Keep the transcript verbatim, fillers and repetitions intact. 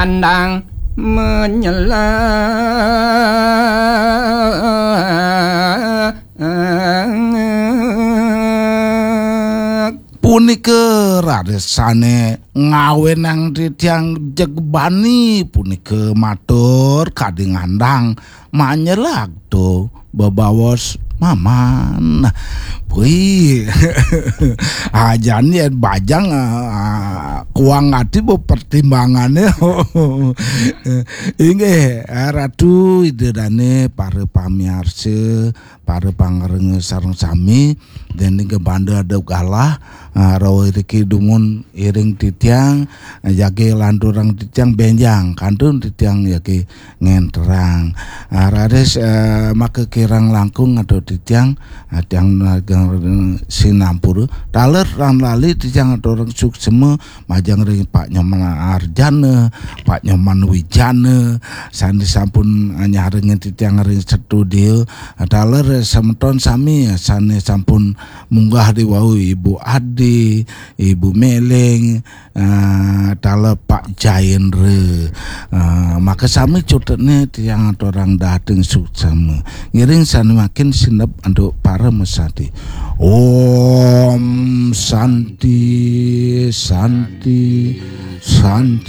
Andang menyelak. Punika rarisane ngawenang titiang jegbani punika matur kadi ngandang manyelag to bebaos maman. Wih, ajan yen bajang, ah, kuang ati bu pertimbangane. Inggih, Ratu Ida Dane, para pamiarsa, para pangrengga sareng sami, dening kebanda ada galah, ah, rauh iriki dumun iring titiang, ah, jagi lanturang titiang benjang, kantun titiang jagi ngenterang. Ah, raris, eh, maka kirang langkung atau titiang, ah, tiang nagang sinampura. Taler lan lali titiang aturang suksema majeng ring Pak Nyoman Arjana, Pak Nyoman Wijana, sane sampun nyarengin titiang ring studio. Taler semeton sami sane sampun munggah di wau, Ibu Ade, Ibu Meleng, eh, taler Pak Jaendra. Eh, maka sami cutetne tiang aturang dahating suksema. Ngiring sane makin sineb antuk parama santi. Om Santi, Santi, Santi.